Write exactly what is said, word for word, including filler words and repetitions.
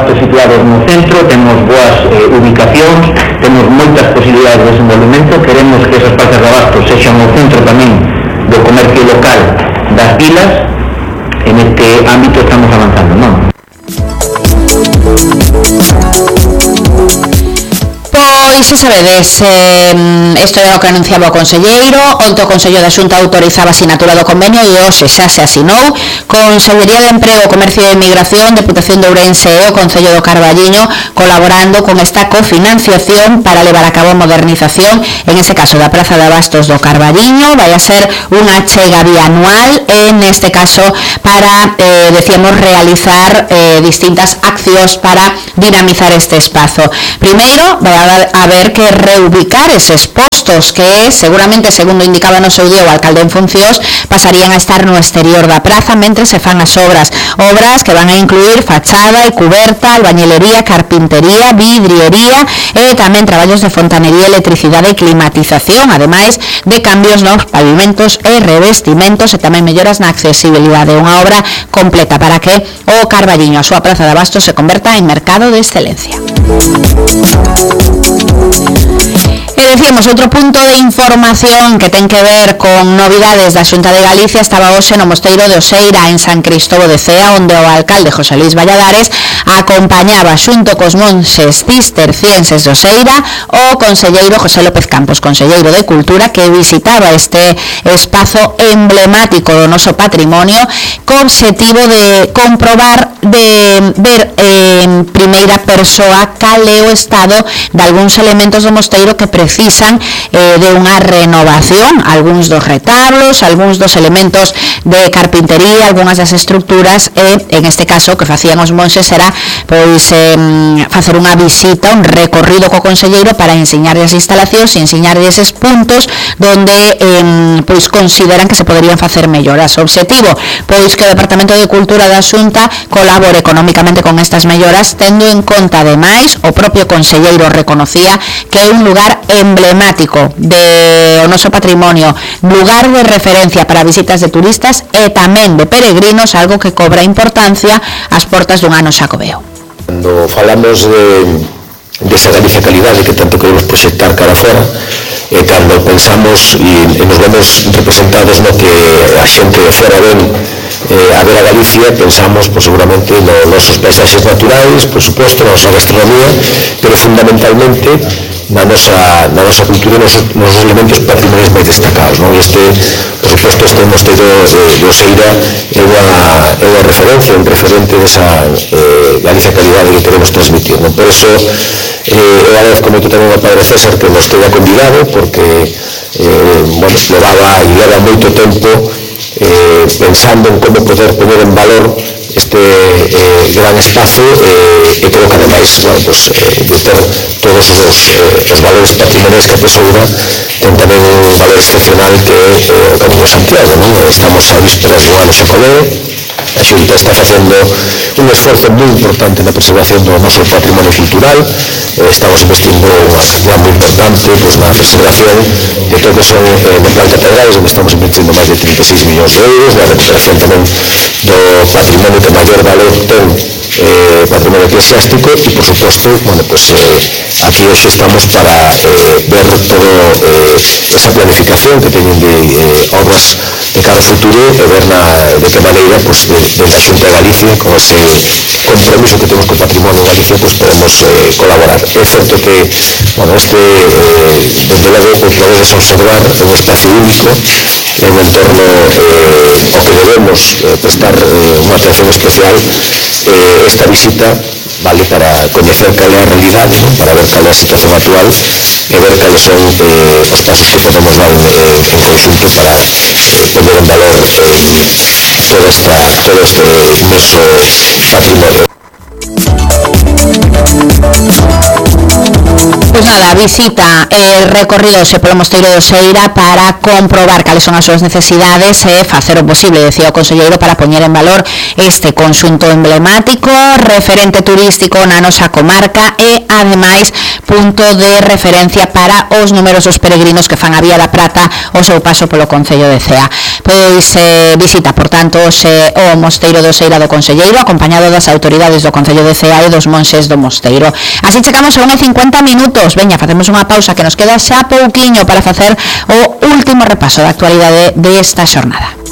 Bastos situados no centro, temos boas eh, ubicacións, temos moitas posibilidades de desenvolvemento, queremos que esas plazas de abastos sexan o centro tamén do comercio local das vilas. En este ámbito estamos avanzando, non? Pois, xa sabedes, eh, isto é o que anunciaba o conselleiro. Onte o Consello da Xunta autorizaba a sinatura do convenio e hoxe xa se asinou. Consellería de Emprego, Comercio e Emigración, Deputación de Ourense e o Concello do Carballiño colaborando con esta cofinanciación para levar a cabo a modernización, en este caso da Praza de Abastos do Carballiño. Vai a ser unha achega bianual, en este caso para, eh, decíamos, realizar eh, distintas accións para dinamizar este espazo. Primeiro, vai a haber que reubicar eses postos que seguramente, segundo indicaba no seu día o alcalde en funcións, pasarían a estar no exterior da praza mentre se fan as obras obras que van a incluir fachada e cuberta, albañilería, carpintería, vidriería e tamén traballos de fontanería, electricidade e climatización, ademais de cambios nos pavimentos e revestimentos e tamén melloras na accesibilidade. Unha obra completa para que o Carballiño, a súa praza de abastos, se converta en mercado de excelencia. E decíamos, outro punto de información que ten que ver con novidades da Xunta de Galicia estaba hoxe no Mosteiro de Oseira, en San Cristóbal de Cea, onde o alcalde José Luis Valladares acompañaba xunto cos monxes cistercienses de Oseira o conselleiro José López Campos, conselleiro de Cultura, que visitaba este espazo emblemático do noso patrimonio co obxectivo de comprobar, de ver en primeira persoa cal é o estado de algúns elementos do mosteiro que precisan eh, de unha renovación, algúns dos retablos, algúns dos elementos de carpintería, algunhas das estructuras, e en este caso o que facían os monxes era pois eh, facer unha visita, un recorrido co conselleiro para enseñarles as instalacións e enseñarles eses puntos donde eh, pois consideran que se poderían facer melloras. O obxectivo, pois que o Departamento de Cultura da Xunta colabore económicamente con estas melloras, tendo en conta, ademais, o propio conselleiro reconocía que é un lugar emblemático de o noso patrimonio, lugar de referencia para visitas de turistas e tamén de peregrinos, algo que cobra importancia ás portas dun ano xacobeo. Cando falamos de, de esa Galicia calidade que tanto queremos proxectar cara fora, e cando pensamos e, e nos vemos representados no que a xente de fora ven eh, a ver a Galicia, pensamos pues, seguramente nos nosos paisaxes naturais, por suposto, na nosa gastronomía, pero fundamentalmente na nosa, na nosa cultura e nos, nos elementos patrimoniais máis destacados, non? Este, por suposto, este mosteiro de, de Oseira é unha, é unha referencia, un referente desa eh, Galicia calidade que queremos transmitir, non? Por eso, eh, eu agradezco moito tamén ao Padre César que nos teña convidado, porque eh, bueno, levaba e leva moito tempo eh, pensando en como poder poner en valor este eh, gran espazo eh, e creo que ademais bueno, pues, eh, de ter todos os, eh, os valores patrimoniais que a tesoura ten tamén un valor excepcional que é eh, o Camiño de Santiago, non? Estamos a vísperas do ano xacobeo, a Xunta está facendo un esforzo moi importante na preservación do noso patrimonio cultural, eh, estamos investindo unha cantidad moi importante pues, na preservación de todo que son eh, de plan catedrales, onde estamos investindo máis de trinta e seis millóns de euros, na recuperación tamén do patrimonio que maior valor ten eh, patrimonio eclesiástico e, por suposto, bueno, pues, eh, aquí hoxe estamos para eh, ver todo eh, esa planificación que teñen de eh, obras de cara ao futuro e ver na, de que maneira pues, de, de a Xunta de Galicia con ese compromiso que temos co patrimonio en Galicia pues, podemos eh, colaborar. É certo que bueno, este eh, desde logo o que podedes observar é un espacio único, é un entorno eh, ao que debemos eh, prestar eh, unha atención especial. Eh, esta visita vale para coñecer cal é a realidade, ¿no? Para ver cal é a situación actual e ver cales son eh, os pasos que podemos dar eh, en conjunto para eh, poner en valor eh, toda esta, todo este inmenso patrimonio. Pois nada, visita e recorridose polo Mosteiro de Oseira para comprobar cales son as súas necesidades e facer o posible, decía o conselleiro, para poñer en valor este conxunto emblemático, referente turístico na nosa comarca e, ademais, punto de referencia para os numerosos peregrinos que fan a Vía da Prata o seu paso polo Concello de Cea. Pois eh, visita, por tanto, hoxe o Mosteiro de Oseira do conselleiro, acompañado das autoridades do Concello de Cea e dos monxes do mosteiro. Así chegamos a unha e cincuenta minutos. Veña, facemos unha pausa que nos queda xa pouquiño para facer o último repaso da actualidade desta xornada.